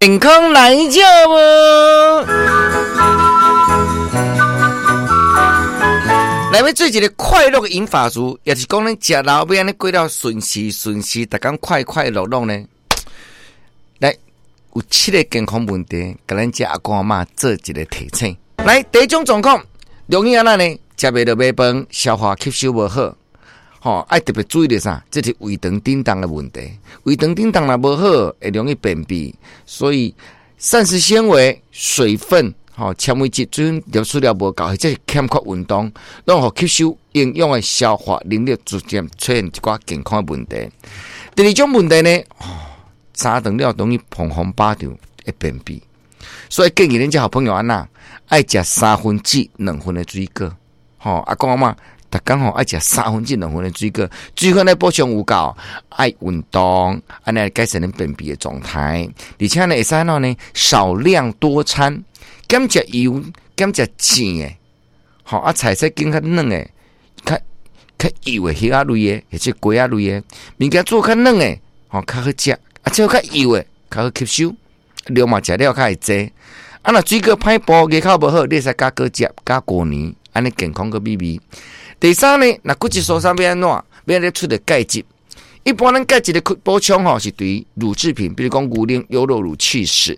健康來食無？來欲做一个快樂的銀髮族，也是講咱食老欲按呢過了順時順時，逐工快快樂樂呢？來，有七个健康問題，共咱遮阿公阿嬤做一个提醒。來，第一種狀況，容易按怎呢？食袂落袂飯，消化吸收無好。吼，愛特別注意著啥？這是胃腸振動的問題。胃腸振動若無好，會容易便秘。所以膳食纖維、水分、吼纖維質，水分攝取了無夠，或者是欠缺運動，攏予吸收營養的消化能力逐漸出現一寡健康的問題。第二種問題呢，哦，三頓了容易膨風飽腸，會便秘。所以建議恁遮好朋友按怎，愛食三分之兩份的水果。吼，阿公阿嬤，逐工吼愛食三分之兩份的水果，水分咧補充有夠，愛運動，按呢來改善恁便秘的狀態。而且呢，會使按怎呢？少量多餐，減食油，減食煎的，吼啊菜色揀較軟的，較較幼的魚仔類的，或者雞仔類的，物件煮較軟的，吼較好食，啊這較幼的較好吸收，量嘛食了較會濟。啊若水果歹剝，牙口無好，你會使加果汁、加果泥，按呢健康閣美味。第三呢，若骨質疏鬆欲按怎？欲按怎出著鈣質？一般咱鈣質的補充吼，是對乳製品，比如講牛奶、優酪乳、起司。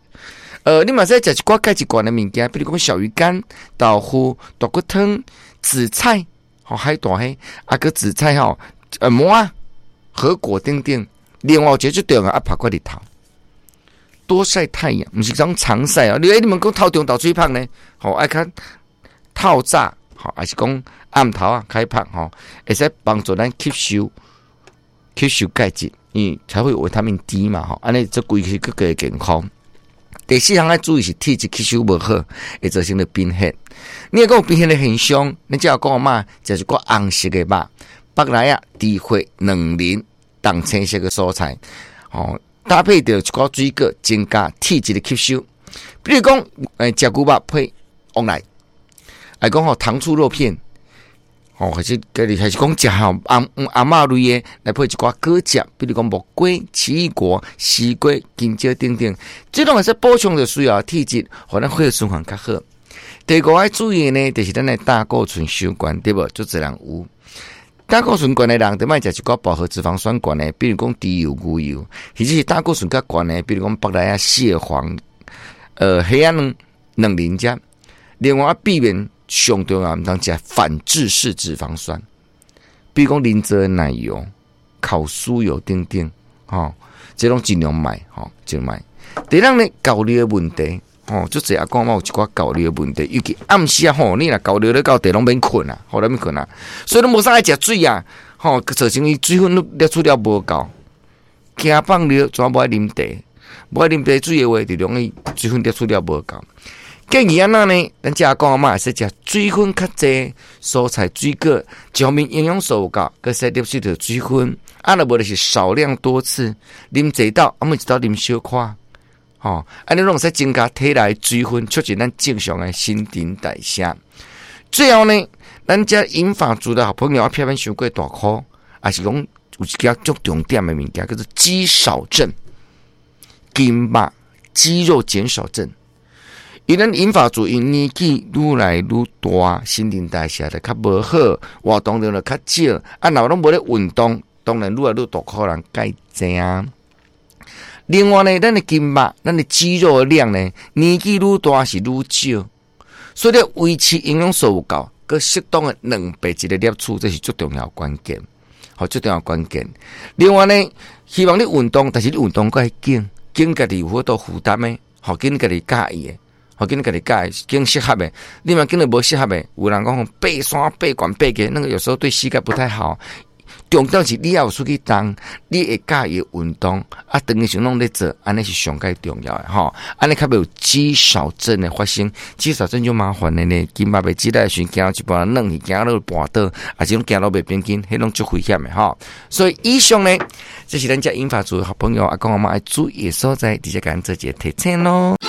你嘛使食一寡鈣質懸的物件，比如講小魚乾、豆腐、大骨湯、紫菜，吼海帶彼，啊閣紫菜吼，蘑仔、核果等等。另外有一个最重要，愛曝過日頭，多曬太陽，毋是講常曬啊。你們講透中晝出去曬呢？吼，愛較透早。吼，還是講暗頭仔開曝吼，會使幫助咱吸收吸收鈣質，因為才會有維他命 D 嘛吼，按呢這規氣閣較健康。第四項愛注意是體質吸收無好，會造成著貧血。你若講有貧血的現象，你只要講阿嬤食一寡紅色的肉，腹內仔、豬血、卵磷、重青色的蔬菜，吼，搭配著一寡水果，增加體質的吸收。比如講，食牛肉配黃梨。來講吼，糖醋肉片，吼，還是家己還是講食吼紅紅肉類的，來配一寡果汁，比如講木瓜、奇異果、西瓜、香蕉等等，這攏會使補充著需要體質，予咱血液循環較好。第五愛注意的呢，就是咱的膽固醇傷懸，對無？足濟人有膽固醇懸的人，就莫食一寡飽和脂肪酸懸的，比如講豬油、牛油，或者是膽固醇較懸的，比如講腹內仔、蟹黃、蝦仔卵、卵磷脂。另外，避免上重要，毋通食反致式脂肪酸，比如講人造的奶油、烤酥油等等，吼，這攏盡量莫，吼，盡量莫。第六呢，厚尿的問題，吼，足濟阿公阿嬤有一寡厚尿的問題，尤其暗時啊，吼，你若厚尿咧到地攏免睏啊，吼，攏免睏啊，所以攏無啥愛食水啊，吼，造成伊水分攝取了無夠，驚放尿，怎無愛啉茶，無愛啉茶水的話，就容易水分攝取了無夠。建議按怎呢？咱遮阿公阿嬤會使食水分較濟蔬菜水果，一方面營養素有夠，閣使攝取著水分。啊，若無就是少量多次，啉濟斗，啊，每一斗啉小可，吼，按呢攏會使增加體內水分，促進咱正常的新陳代謝。最後呢，咱遮銀髮族的好朋友，避免傷過大箍，也是講有一個足重點的物件，叫做肌少症，筋肉肌肉減少症。因咱銀髮族因年紀愈來愈大，新陳代謝就較無好，活動量就較少，啊，若攏無咧運動，當然愈來愈大箍人較濟啊。另外呢，咱的筋肉、咱的肌肉的量呢，年紀愈大是愈少，所以咧維持營養素有夠，閣適當的蛋白質的攝取，這是最重要的關鍵，好，最重要關鍵。另外呢，希望你運動，但是你運動閣愛揀，揀家己有法度負擔的，好，揀家己佮意的。好，揀家己佮意，揀適合的，你若揀著無適合的，有人講爬山爬懸爬低，那個有時候對膝蓋不太好。重點是你要有出去動，你會佮意運動，啊，當時攏咧做，按呢是上蓋重要的吼。按呢較袂有肌少症的發生，肌少症就麻煩的呢，筋肉袂肌力的時陣，行一半軟去，行落絆倒，抑是講行路袂平均，彼攏足危險的吼。所以以上呢，這是咱遮銀髮族的好朋友阿公阿嬤愛注意的所在，直接共咱做一個提醒囉。